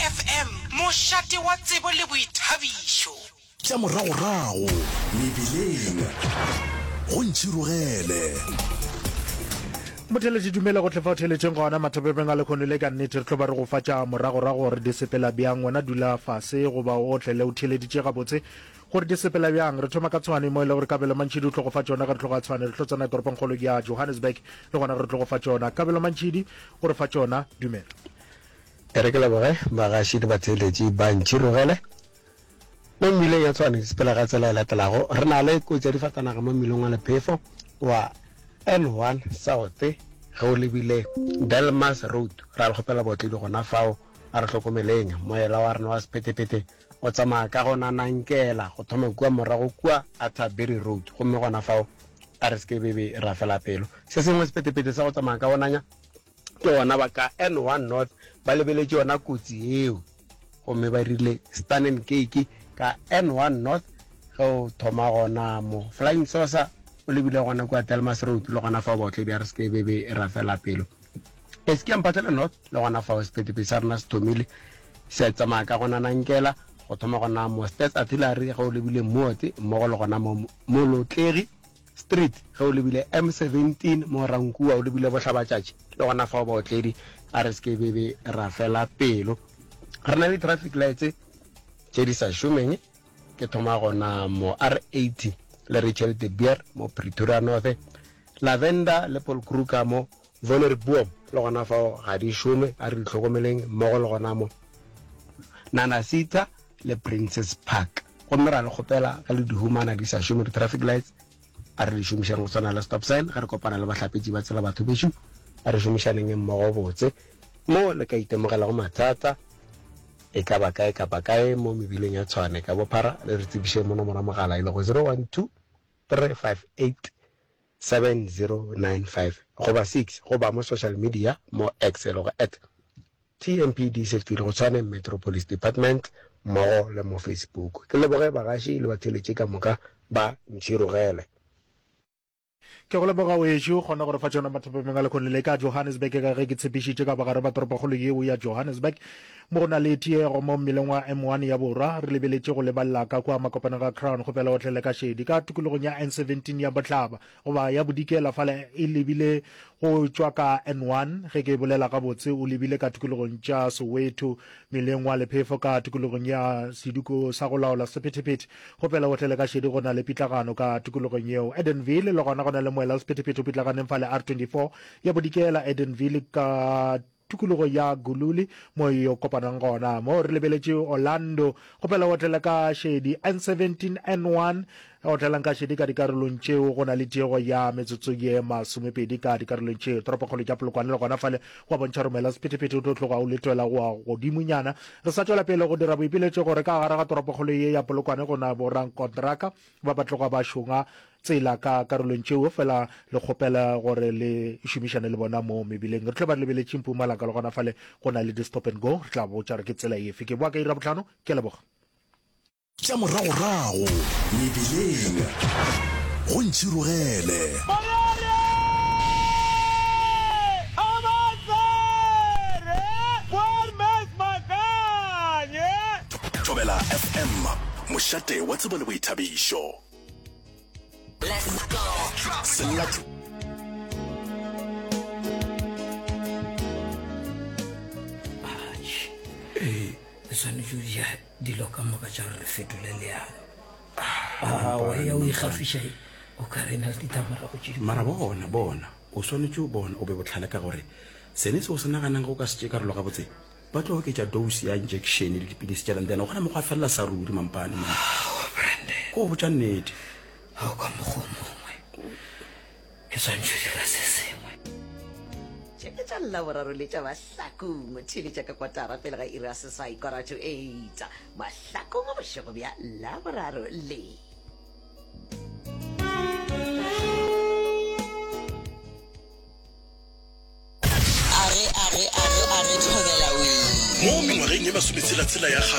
FM, mošate wa tsebo le boithabišo. Tša moragorago mebileng go ntšhirogele. Motheeletši dumela gohle fa o theeletšeng gona mathapepeng a lekhono le ka nnete re tlo ba re go fa tša moragorago gore di sepela bjang wena dula fase goba o otlele o theeleditše gabotse gore di sepela bjang re thoma ka Tshwane mo e le gore Kabelo Mantšhidi o tlo go fa tšona ge re tloga Tshwane re tlo tsena toropongkgolo ya Johannesburg le gona ge re tlo go fa tšona Kabelo Mantšhidi o re fa tšona dumela. E re ke leboge bagaši le batheeletši ba Ntšhirogele. Mo mmileng ya Tshwane di sepela ka tsela e latelago, Re na le kotsi ya difatanaga mo mmileng wa lephefo wa N1 South ge o lebile Delmas Road. Ra le kgopela baotledi gona fao, a re hlokomeleng. Moela wa rena wa sephethephethe o tsamaya ka go nanankela go thoma kua morago kua Atterbury Road gomme gona fao a re se ke bebe ra fela pelo. Se sengwe sephethephethe sa go tsamaya ka go nanya ke gona ba ka N1 North ba lebeletše yona kotsi yeo gomme ba rile Stanen Cake ka N1 North ge o thoma gona mo Flying Saucer o lebile gona kua Delmas Road le gona fao baotledi a re se ke bebe ra fela pelo. Eskia Mphahlele North le gona fao sephethephethe sa rena se thomile se tsamaya ka go nanankela go thoma gona mo Stats Artillery ge o lebile Moot mmogo le gona mo Molotlegi Street ge o lebile M17 mo Rankuwa o lebile bohlabatšatši le gona fao baotledi a re se ke bebe ra fela pelo. Re na le traffic lights tše di sa šomeng ke thoma gona mo R80 le Rachel de Beer mo Pretoria North, Lavender le Paul Kruger mo Wonderboom le gona fao ga di šome a re di hlokomeleng mmogo le gona mo Nanasita le Princess Park. Gomme ra le kgopela ge le di humana di sa šome di-traffic lights, a re di šomišeng go swana le stop sign ge re kopana le bahlapetši ba tsela batho bešo, a re šomišaneng mmogo botse. Mo le ka itemogelago mathata e ka ba kae kapa kae mo mebileng ya Tshwane ka bophara, le re tsebišeng mo nomoro ya mogala e lego 012 358 7095 goba 6 goba mo social media mo X e lego at TMPD Safety le go Tshwane Metro Police Department mmogo le mo Facebook. Ke leboge bagaši le batheeletši ka moka ba Ntšhirogele. Ke go leboga wešo, kgona go re fa tšona mathapameng a lekhono le ka Johannesburg ka ge ke tshepišitše ka bogare ba toropokgolo yeo ya Johannesburg mo go na le tiego mo mmileng wa M1 ya borwa re lebeletše go lebalela ka kua makopanong a Crown kgopela otlele ka šedi ka tikologong ya N17 ya bohlaba goba ya bodikela fale e lebile go tšwa ka N1 ge ke bolela gabotse o lebile ka tikologong tša Soweto meleng wa lephefo ka tikologong ya seduko sa go laola sephethephethe kgopela o tlele ka šedi go na le pitlagano ka tikologong yeo Edenville le gona go na le moela wa sephethephethe o pitlaganeng fale R24 ya bodikela Edenville ka Tikologo ya Gululi mo e yo kopanang gona. Mo re lebeletše Orlando, kgopela o otlele ka šedi N17, N1, otlelang ka šedi ka dikarolong tšeo go na le tiego ya metsotso ye masomepedi ka dikarolong tšeo. Toropokgolo tša Polokwane le gona fale go a bontšha romela sephethephethe o tlo tloga o letwela go a godimonyana. Re sa tšwela pele go dira boipiletšo gore ka gare ga toropokgolo ye ya Polokwane go na borankontraka ba ba tloga ba šonga tsela ka karolong tšeo fela le kgopela gore le šomišane le bona mo mebileng. Re tlo ba re lebeletše Mpumalanga le gona fale go na le di-stop and go, re tla botša gore ke tsela efe. Ke boa ka iri ya bohlano, ke a leboga. Tša moragorago mebileng go ntšhirogele. Thobela FM, mošate wa tsebo le boithabišo. Ee, re swanetše go ja dilo ka moka tša gore re fetole leano. Aowa, ya o ikgafiša o ka re na le ditlamorago tše di. Mara bona, bona, o swanetše o bona o be bohlale ka gore sene se o se naganang ge o ka se tšee karolo gabotse, Ba tlo oketša dose ya injection le dipilisi tšela then gona mokgwa felela sa ruri mampane man. Aowa Brandon. Ko go botša nnete. Ao ka mokgwa o mongwe ke swanetše go dira se sengwe. Tše ke tša Laboraro le tša Mahlakong. Theeletša ka kotara pele ga iri ya seswai, quarter to eight. Mahlakong bošego bja Laboraro le. Age, age, age, age, thobela wee. Mo mengwageng ye masometshela-tshela ya kgale.